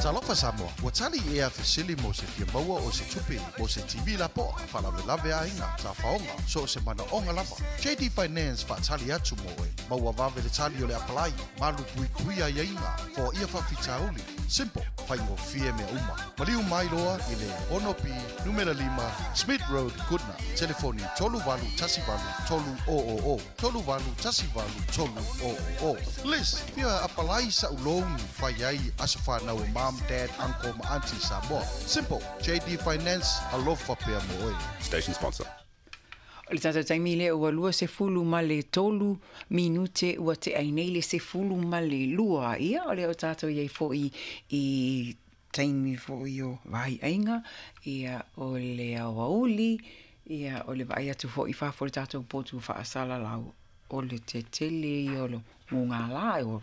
Talofa Samoa, ua tali ea fesili mo se fia maua o se tupe mo se TV lapoa, faalavelave aiga, tafaoga, so o se manaoga lava. JD Finance faatali atu mo oe. Maua vave le tali o le apalai, malu puipui aiaiga, foaia faafitauli. Simple, faigofie mea uma. Maliu mai loa i le 6B numera 5 Smith Road, Goodna. Telefoni 3818 300 3818 300. Liz, fia apalai sa'u loan fai ai aso fanau o mom, dad, uncle ma auntie Samoa. Simple, JD Finance, alofa pea mo oe. Station sponsor. O le tatou taimi lea ua 23 minute ua tea ai nei le 12. Ia, o lea o tatou i ai foi i taimi foi o vaiaiga, ia, o le aoauli, ia, o le vaai atu foi i fafo i le tatou potu faasalalau, o le tetele ia o le mugala, o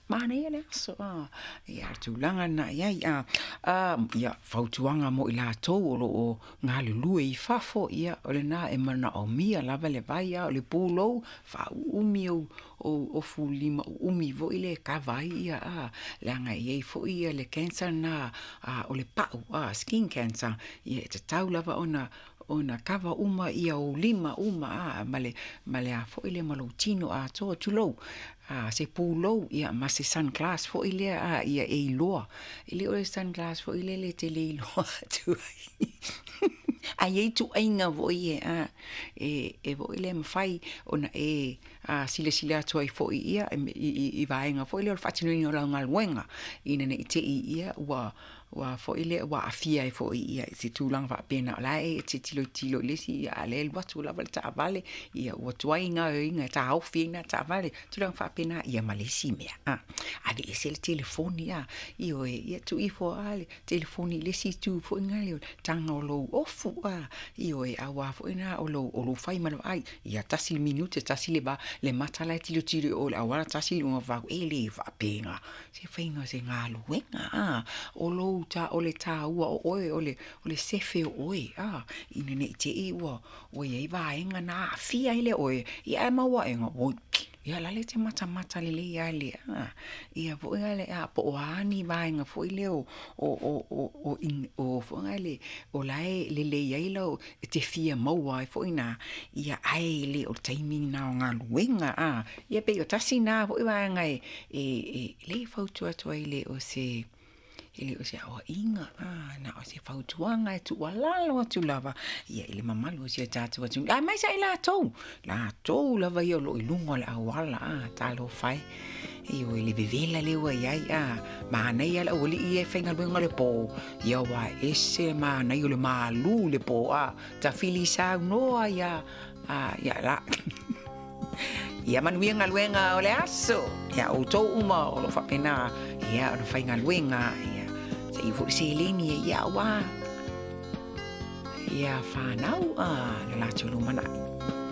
manaia le aso, a, ia, o le tulaga lena i ai, a, a, ia, fautuaga mo i latou o lo o galulue i fafo, ia, o lena e manaomia lava le vai, a o le pulou, faauumi ou ou ofu lima uumi foi lea e kava ai ia, a, leaga e i ai foi ia le cancer lena, a, o le pau, a, skin cancer, ia e tatau lava ona ona kava uma ia ou lima uma, a, ma le ma le a foi lea ma lou tino atoa, tulou, a, se pulou, ia ma se sunglass foi lea, a, ia e iloa. E le o le sunglass foi lele e te le iloa atu ai. Ae i ai ituaiga foi ia, a, e e foi lea e mafai ona e a silasila atu ai foi ia i vaega foi lea o le faatinoina o lau galuega, ina ne i te i ia ua ua foi lea ua aafia ai foi ia i se tulaga faapena, o la e te tilotilo i le isi, a o lea e alu atu lava le taavale, ia ua tuai gaoioiga e taofi ai lena taavale, tulaga faapena, ia ma le isi mea, a, aveese le telefoni, a, ioe, ia tuu ifo lava le telefoni i le isi itu foi lena, o le taga o lou ofu, a, ioe, aua foi lena o lou o lou fai ma le vaai, ia tasi le minute, tasi le va, le mata la e tilotilo i o i le auala, tasi luga o fau, e le faapena se faiga o se galuega, a, o lou ta, o le taua o oe, o le, o le sefe o oe, a, ina ne i te i ua, ua i ai vaega na aafia ai lea o oe, ia ae maua aega, oi, ia o la e te matamata lelei lava i le, a, ia foi la le, a, po o a ni vaega foi lea o, o, o, o, o, o foi la le, o la e lelei ai lau, e te fia maua ai foi i ina, ia ae le o le taimi lena o galuega, a, ia pei o tasi lena foi vaega e, e, e, lea e fautua atu ai le o se, E le o se aoaiga, a, na o se fautuaga e tuualalo atu lava ia i le mamalu o si o tatou atunuu, aemaise ai latou, latou lava ia o lo o i luga o le auala, a, talofa e. Ioe, le vevela lea ua i ai, a, manaia le aualii ia e faigaluega le po, ia ua ese le manaia o le malu i le po, a, tafili saunoa ia, a, ia la. Ia manuia galuega o le aso. Ia outou uma o lo o faapena ia ona faigaluega ia se i foi seleni e ia aua ia fanau a le latou lumanai.